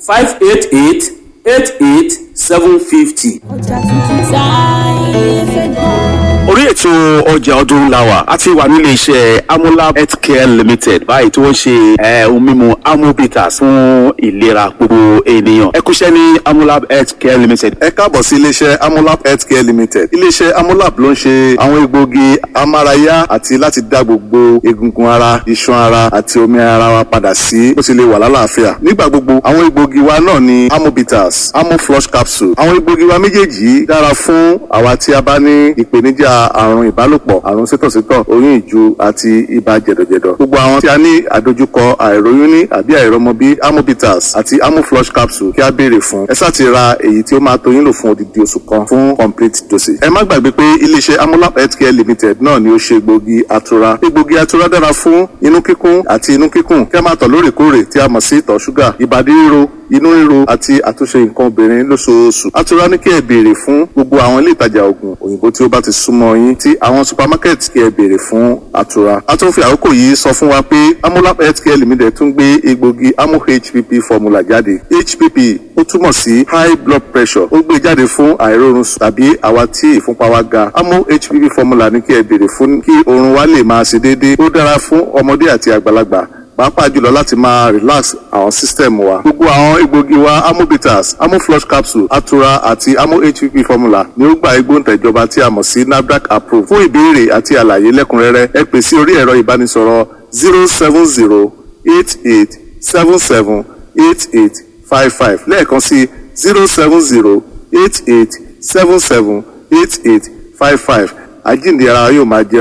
588 88 750. Ọjà tuntun táyé fẹ́ gbọ́. Orí ètò ọjà ọdún la wà. A ti wà nílé iṣẹ́ Amolab Healthcare Limited báyìí tí wọ́n ṣe ohun mímu Amobitas fún ìlera gbogbo ènìyàn. Ẹ kúṣẹ́ ní Amolab Healthcare Limited. Ẹ káàbọ̀ sí iléeṣẹ́ Amolab Healthcare Limited. Iléeṣẹ́ Amolab ló ń ṣe àwọn egbòogi amárayá àti láti dá gbogbo egungun ara, iṣan ara àti omi ara wa padà sí bó ti lè wà lálàáfíà. Nígbà gbogbo, àwọn egbòogi wa náà ni Amobitas, Amoflush capsule. Àwọn egbòogi wa méjèèjì yìí dára fún àwa tí a bá ní ìpèníjà àrùn ìbálòpọ̀, àrùn sétọ̀sétọ̀, oyún ìju àti ibà jẹ̀dọ̀jẹ̀dọ̀. Gbogbo àwọn tí a ní àdojúkọ àìróyún ní àbí àìrọmọbí, Amobitas àti Amoflush capsule kí a béèrè fún. Ẹ sáà ti ra èyí tí ó máa tó yín lò fún odidi oṣù kan fún complete dosage. Ẹ má gbàgbé pé iléeṣẹ́ Amolab Healthcare Limited náà ni ó ṣe egbòogi atura. Egbòogi atura dára fún inú kíkún àti inú kíkùn, kí a máa tọ̀ lóòrèkóòrè tí a mọ̀ sí ìtọ̀ ṣúgà, ìbàdí ríro, inú ríro àti àtúnṣe nǹkan obìnrin lóṣooṣù. Atura ní kí ẹ béèrè fún gbogbo àwọn ilé ìtajà oògùn òyìnbó tí ó bá ti súnmọ́ yín, tí àwọn supermarket, kí ẹ béèrè fún atura. A tún fi àkókò yìí sọ fún wa pé Amolab Healthcare Limited tún gbé egbòogi Amo HPP formula jáde. HPP ó túmọ̀ sí high blood pressure. Ó gbé jáde fún àìróorun sùn tàbí àwa tí ìfúnpá wa ga. Amo HPP formula ní kí ẹ béèrè fún kí oorun wa lè máa ṣe déédéé. Ó dára fún ọmọdé àti àgbàlagbà, pàápàá jùlọ láti máa relax àwọn system wa. Gbogbo àwọn egbògi wa, Amobitas, Amoflush capsule, Atura àti Amo HPP formula, ni ó gba igbóǹtẹ̀jọba tí a mọ̀ sí NAFDAC approved. Fún ìbéèrè àti àlàyé lẹ́kùnrẹ́rẹ́, ẹ pè sí orí ẹ̀rọ ìbánisọ̀rọ̀ 07088778855, lẹ́ẹ̀kan sí 07088778855. Àjíǹde ara yóò máa jẹ́.